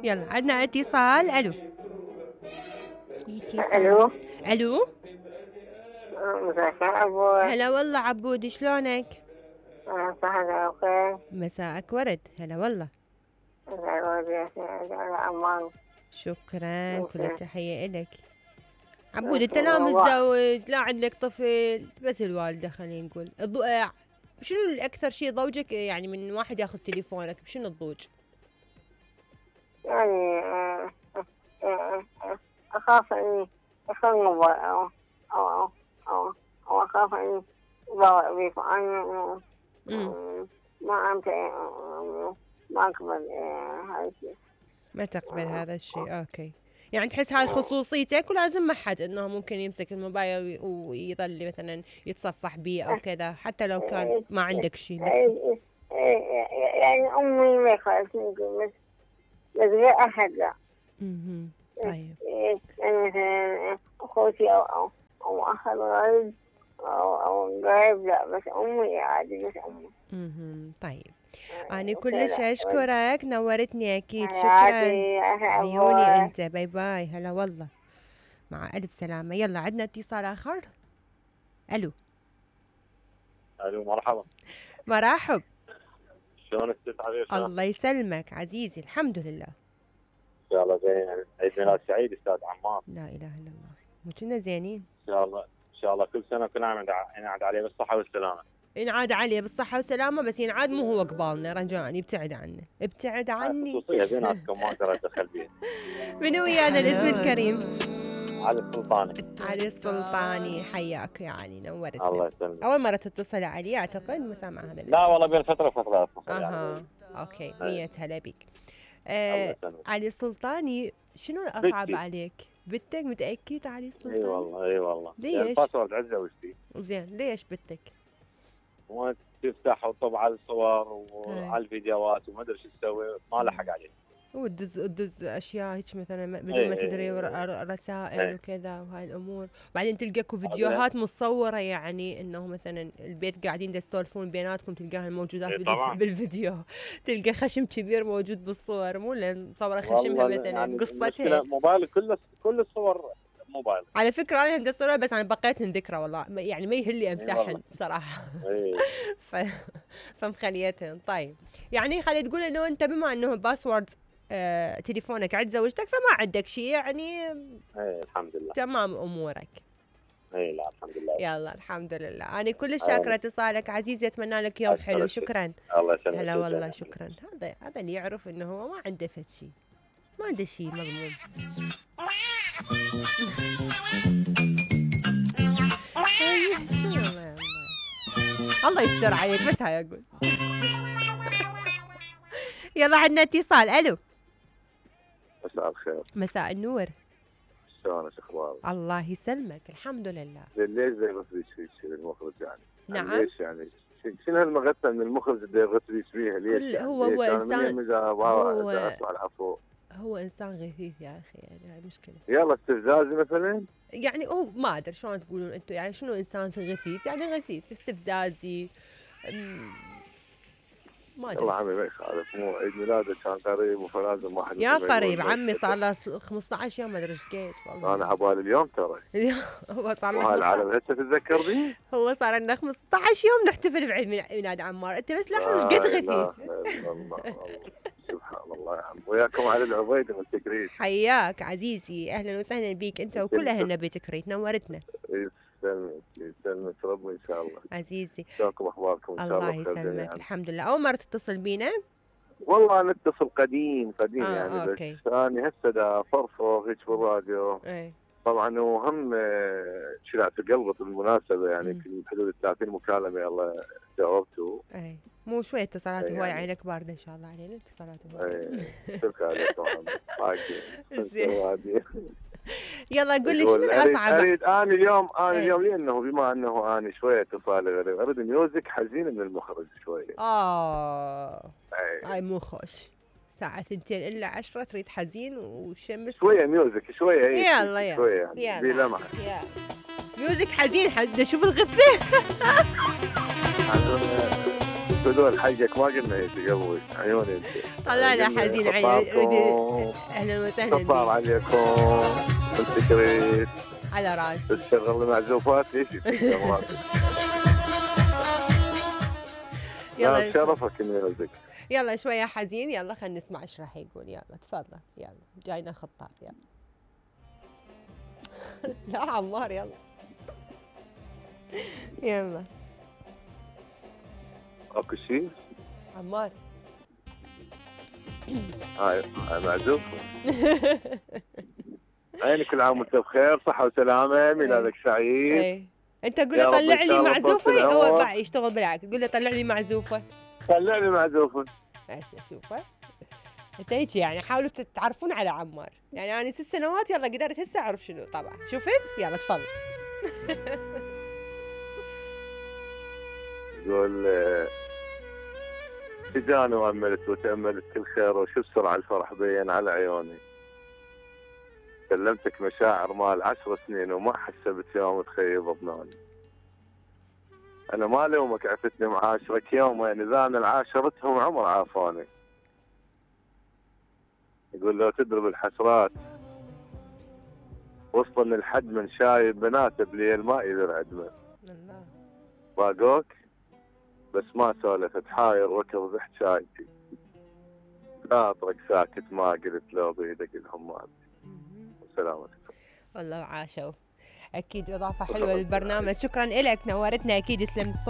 يلا عندنا اتصال. الو الو الو مساك عبود. هلا والله عبود، شلونك؟ صحة وخير. مساءك ورد. هلا والله. شكرا، كل التحية إلك عبود. انت لا متزوج لا عندك طفل، بس الوالدة خلينا نقول. شنو الأكثر شيء ضوجك يعني من واحد ياخذ تليفونك؟ بشنو الضوج؟ يعني أخاف إني أخذ موبايل أو أخاف إني ضاوع بيك وأنا ما أنت ما أقبل هذا الشيء. ما تقبل هذا الشيء. أوكي، يعني تحس هاي خصوصيتك ولازم ما حد انه ممكن يمسك الموبايل ويظل مثلا يتصفح بيه او كذا، حتى لو كان ما عندك شيء. يعني امي ما خالتني بس غير احد لا. طيب يعني مثلا اخوتي او اخ الغريب او قريب لا، بس امي عادي، بس امي. طيب أنا كلش أشكرك، نورتني أكيد. شكرا عيوني أنت. باي باي. هلا والله، مع ألف سلامة. يلا عندنا اتصال آخر. ألو مرحبا. مرحب. شلونك ست عزيز؟ الله يسلمك عزيزي، الحمد لله. إن شاء الله زين. عيد ميلاد سعيد أستاذ عمار. لا إله إلا الله، مو كنا زينين؟ إن شاء الله إن شاء الله كل سنة كل عام ينعاد عليه بالصحة والسلامة. ينعاد عليه بالصحة والسلامة، بس ينعاد مو هو قبالنا رجاء، ابتعد عنه، ابتعد عني. خصوصية بيناتكم ما أقدر أتدخل بيها. من ويانا الاسم الكريم؟ علي السلطاني. علي السلطاني، حياك يا علي، نورتنا. الله يسلمك. أول مرة تتصل علي أعتقد، مسامع هذا الاسم. لا والله بين فترة وفترة. أوكي، 100 هلا بك. علي السلطاني، شنو الأصعب عليك؟ بنتك؟ متأكد علي السلطاني؟ اي والله ليش؟ الباسورد عزة وشتي. زين، ليش بنتك؟ ما تفتح وتطبع على الصور وعلى الفيديوهات وما ادري شو تسوي، ما لحق عليه. وتدز اشياء هيك مثلا بدون ما تدري، رسائل وكذا وهاي الامور. بعدين تلقاكم فيديوهات مصوره، يعني انه مثلا البيت قاعدين تسولفون بيناتكم، تلقاها الموجودات بالفيديو. تلقى خشم كبير موجود بالصور، مو لان مصوره خشمها مثلا يعني قصتها. موبايل كل الصور موبايل. على فكره انا هندسه صور، بس انا بقيتهن ذكرى والله، يعني ما يهلي امسحهن بصراحه. فمخليتهن. طيب يعني خلي تقول انه انت بما انه باسورد تليفونك عند زوجتك فما عندك شيء، يعني الحمد لله تمام امورك. لا الحمد لله. يلا الحمد لله. انا كلش شاكره اتصالك عزيزي، اتمنى لك يوم حلو. شكرا. الله يسلمك. هلا والله شكرا. هذا اللي يعرف انه هو ما عنده فد شيء، ما عنده شيء مضمون. الله يستر عليك، بس هاي اقول. يلا عندنا اتصال. الو مساء الخير. مساء النور. شلونك اخبارك؟ الله يسلمك، الحمد لله. ليش زي غثري شيء المخرج يعني؟ نعم. ليش يعني شنو هالمغثى من المخرج اللي يغثري فيها؟ ليش يعني؟ هو انسان، هو انسان غثيث يا اخي، يعني هاي مشكله. يلا استفزازي مثلا، يعني هو ما ادري شلون تقولون انتم، يعني شنو انسان في غثيث؟ يعني غثيث استفزازي، ما ادري. والله عمي ما يخالف، مو عيد ميلاده كان قريب فلازم واحد يا قريب. عمي صار له 15 يوم ما ادري ايش قيت والله. انا عبالي اليوم ترى. هو صار له وهالعالم هسه تتذكر بي؟ هو صار لنا 15 يوم نحتفل بعيد ميلاد عمار، انت بس لاحظ ايش قد غثيث. الله سبحان الله يا عم. وياكم على العبيد من تكريت. حياك عزيزي، اهلا وسهلا بيك انت وكل اهلنا بتكريت، نورتنا. يسلمك ربي ان شاء الله عزيزي. شلونكم اخباركم؟ ان شاء الله الله يسلمك. الحمد لله. اول مره تتصل بينا؟ والله نتصل قديم يعني أوكي. بس انا هسه دا فرفر هيك بالراديو. طبعا وهم شلعت قلبي بالمناسبه، يعني في حدود 30 مكالمه الله جاوبته. مو شويه اتصالات هواي، عينك بارده ان شاء الله علينا اتصالات هواي. شكرا عليكم. يلا قول لي شنو الاصعب؟ اريد انا اليوم لانه بما انه انا شويه اتصال غريب، اريد ميوزك حزين من المخرج شويه. هاي مو خوش. الساعة 2 إلا 10 تريد حزين وشمس شوية ميوزك شوية. يلا شوية يعني بلمحة. ميوزك حزين، حد شوف الغثة. بدون حقك ما قلنا هيك قبل عيوني انت. طلعنا حزين عيوني. اهلا وسهلا صار عليكم الفكريت على راسي. تشتغل معزوفات ليش؟ يلا شرفك الميوزك. يلا شويه حزين، يلا خلينا نسمع ايش راح يقول. يلا تفضل، يلا جاينا خطاب. يلا لا عمار يلا يلا. اكو شيء عمار؟ هاي معزوف. عيني كل عام وانت بخير، صحة وسلامة، ميلادك سعيد. ايه انت قول له طلع لي معزوفة، هو بقى يشتغل بالعكس، قول له طلع لي معزوفة. طلع لي معزوفة. هسه شوفه انت هيك يعني حاولوا تتعرفون على عمار، يعني انا 6 سنوات يلا قدرت هسه اعرف شنو طبعا. شفت؟ يلا تفضل. يقول تجاني واملت وتاملت كل خير، وشو بسرعه الفرح بين على عيوني. كلمتك مشاعر مال 10 سنين وما حسبت يوم تخيب ظنوني. انا ما لومك عفتني معاشرك يومين، اذا انا عاشرتهم عمر عافوني. يقول لو تدرب الحسرات وصلني الحد من شايب بناته بليل ما يقدر عدمه. باقوك بس ما سولفت، حاير ركض بحجايتي، خاطرك ساكت ما قلت لو بيدك الهمات. وسلامتكم. والله عاشوا. اكيد اضافه حلوه للبرنامج. شكرا لك، نورتنا. اكيد يسلم الصوت.